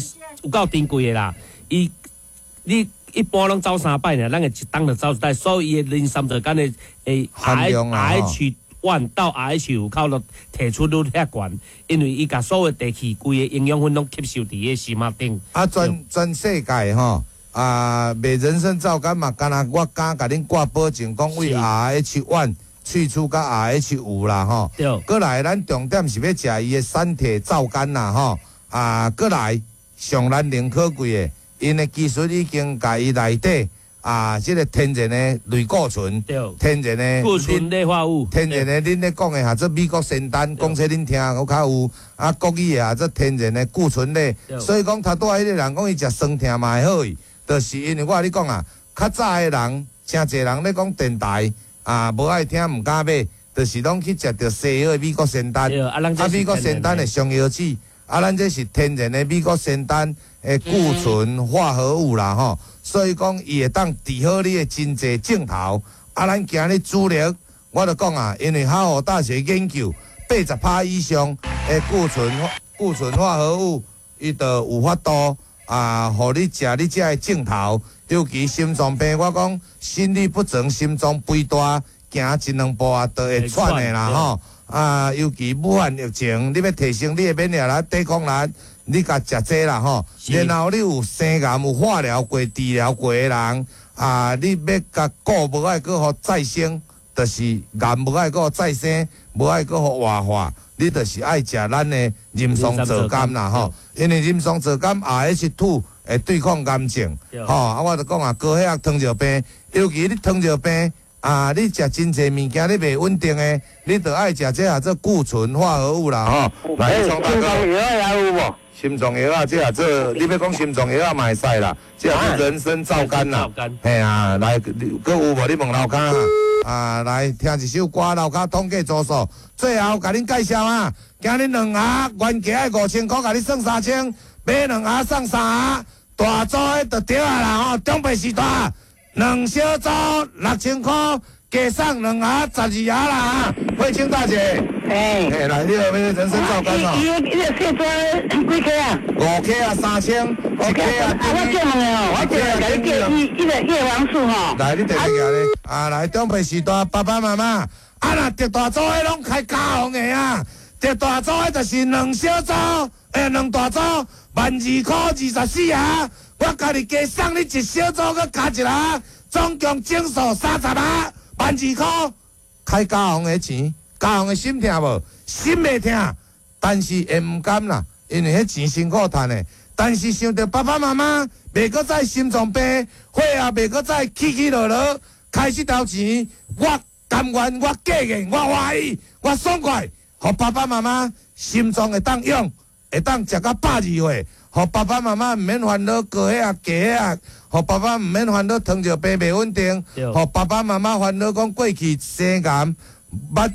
D: 夠珍貴的啦。伊你一般攏走三擺爾，咱會一冬就走一擺，所以伊的人參就敢若會
A: 含量啊
D: R H one 到 R H 有口都提出率遐懸，因為伊共所有地氣規个營養分攏吸收佇個心仔頂。
A: 啊，全全世界吼，啊，賣人參皂苷嘛，敢若我敢共恁掛保證，講為 R H one 萃取佮 R H 五啦吼。
D: 對。
A: 閣來，咱重點是欲食伊的三鐵皂苷啦吼。啊，閣來上難能可貴的，𪜶的技術已經共伊內底啊，這个天然的類固醇，天然的
D: 固醇類化物，
A: 天然的，恁咧講的哈，這美國仙丹講這恁聽閣較有啊，國語的啊，這天然的固醇類，所以講頭拄仔彼个人講伊食酸痛嘛會好去，就是因為我共你講啊，較早的人，誠濟人咧講電台啊，無愛聽，毋敢買，就是攏去食著西藥的美國仙丹，
D: 啊，
A: 美國仙丹的雙藥劑，啊，咱這是天然的美國仙丹的固醇化合物啦吼。所以講，伊會當治好你的真濟症頭。啊，咱今日主力，我就講啊，因為哈佛大學研究八十趴以上的固醇固醇化合物，伊就有法度啊，予你食你這个症頭。尤其心臟病，我講心律不整、心臟肥大，行一兩步啊，就會喘的啦吼。啊，尤其武漢疫情，你欲提升你的免疫力、抵抗力。你共食這啦吼，然後你有生癌、有化療過、治療過的人，啊，你欲共骨無愛閣予再生，就是癌無愛閣予再生，無愛閣予活化，你就是愛食咱的人參皂苷啦吼，因為人參皂苷 R H two 會對抗癌症，吼啊，我就講啊，高血壓、糖尿病，尤其你糖尿病啊，你食真濟物件你袂穩定的，你就愛食這下做固醇化合物啦吼。來，心
G: 臟藥也有無？
A: 心臟藥啊，這下做，你欲講心臟藥啊嘛會使啦，這下做人參皂苷啦，嘿啊，來，閣有無？你問樓跤啊，來聽一首歌，樓跤統計周數，最後共恁介紹啊，今日兩盒原價愛五千箍，共你算三千，買兩盒送三盒，大組的就對啊啦吼，長輩時代，兩小組六千箍。加送兩盒十二盒啦！慧清大姐，
H: 欸，
A: 欸，來，你有欲人參皂苷哦？
H: 伊伊伊个细紙幾克啊？
A: 五克啊，三千，一克啊。
H: 啊，我借問的哦，我借共你借伊伊个葉黃素吼。
A: 來，你電話咧，啊，來，長輩時代，爸爸媽媽，啊，若特大組的攏開加紅的啊，特大組的就是兩小組，欸，兩大組，萬二箍二十四盒，我家己加送你一小組，閣加一盒，總共整數三十盒。萬二箍，開家紅的錢，家紅的心疼無？心袂疼，但是會毋甘啦，因為彼錢辛苦趁的。但是想著爸爸媽媽袂閣再心臟病、血壓袂閣再起起落落，開這條錢，我甘願，我過癮，我歡喜，我爽快，予爸爸媽媽心臟會當用，會當食到百二歲，予爸爸媽媽毋免煩惱高血壓、低血壓，予爸爸毋免煩惱糖尿病袂穩定，予爸爸媽媽煩惱講過去生癌，捌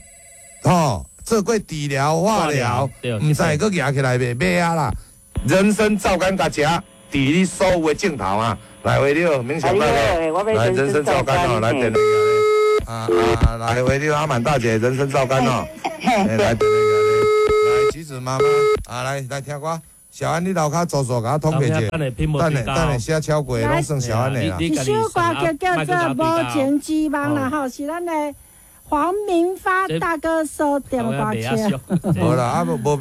A: 吼做過治療、化療，毋知會閣夯起來袂？袂啊啦！人參皂苷共食，治你所有的症頭啊！來，惠你好，明祥大哥，來人參皂苷哦，來電話啊啊，來惠你好，阿滿大姐，人參皂苷哦，來電話來，橘子媽媽啊，來來聽歌。小安，你樓跤做數，共我統計者。等下，等下寫超過，攏算小安的啦。
E: 一首歌叫叫做《無情之夢》啦，吼，是咱的黃明發大哥所點歌曲。
A: 無啦，啊無無袂。